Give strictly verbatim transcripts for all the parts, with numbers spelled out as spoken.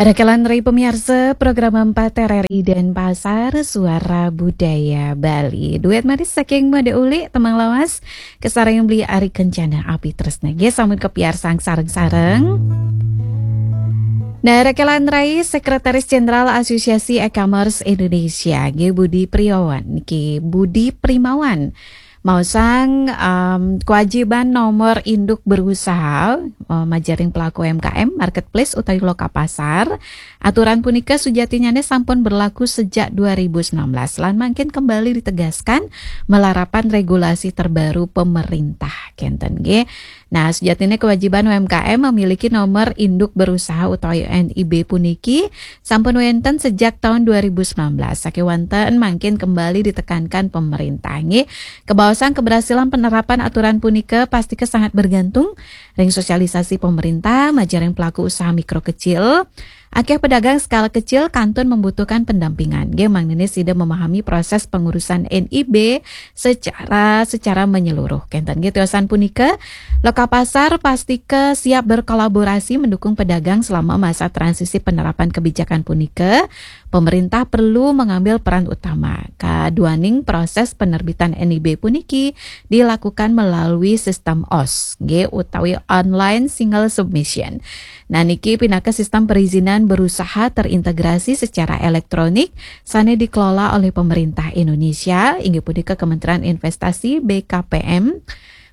Rekelan rai pamiarsa program empat R R I Denpasar, Suara Budaya Bali. Duet manis saking Made Uli, Temang Lawas, kasarengin Beli Ari Kencana Api Tresna. Nggih, sampun kapiarsang sareng-sareng. Nah, rekelan rai Sekretaris Jenderal Asosiasi E-Commerce Indonesia, nggih, Budi Priawan, nggih, Budi Primawan. Maosang, em, kewajiban nomor induk berusaha, eh, majaring pelaku U M K M, marketplace utawi loka pasar. Aturan punika sujatinyane sampun berlaku sejak dua ribu sembilan belas lan mangkin kembali ditegaskan malarapan regulasi terbaru pemerintah. Kenten nggih. Nah, sujatine kewajiban U M K M memiliki nomor induk berusaha utawi N I B puniki sampun wenten sejak tahun dua ribu sembilan belas. Sakewanten mangkin kembali ditekankan pemerintah nggih. Kebaosan keberhasilan penerapan aturan punika pastika sangat bergantung ring sosialisasi pemerintah majaring pelaku usaha mikro kecil. Akeh pedagang skala kecil kantun membutuhkan pendampingan. Nggih, mangdene sida memahami proses pengurusan N I B secara, secara menyeluruh. Kenten nggih, tiosan punika, loka pasar pastika siap berkolaborasi mendukung pedagang selama masa transisi penerapan kebijakan punika. Pemerintah perlu mengambil peran utama. Kaduaning proses penerbitan N I B puniki dilakukan melalui sistem O S, nggih, utawi online single submission. Nah, niki pinaka sistem perizinan berusaha terintegrasi secara elektronik sane dikelola oleh pemerintah Indonesia, inggih punika Kementerian Investasi, B K P M.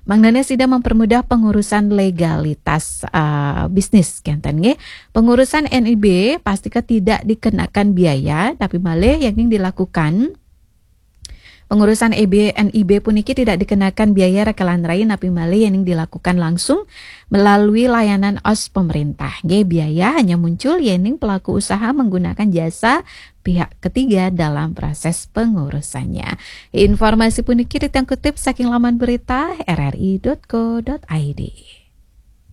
Mangdane sida mempermudah pengurusan legalitas, eh, bisnis, kenten nggih. Pengurusan N I B pastika tidak dikenakan biaya, tapi malih yang dilakukan pengurusan E B, N I B puniki tidak dikenakan biaya rekelan rai napi malih yening dilakukan langsung melalui layanan O S pemerintah. Nggih, biaya hanya muncul yening pelaku usaha menggunakan jasa pihak ketiga dalam proses pengurusannya. Informasi puniki titiang kutip saking laman berita R R I dot co dot I D.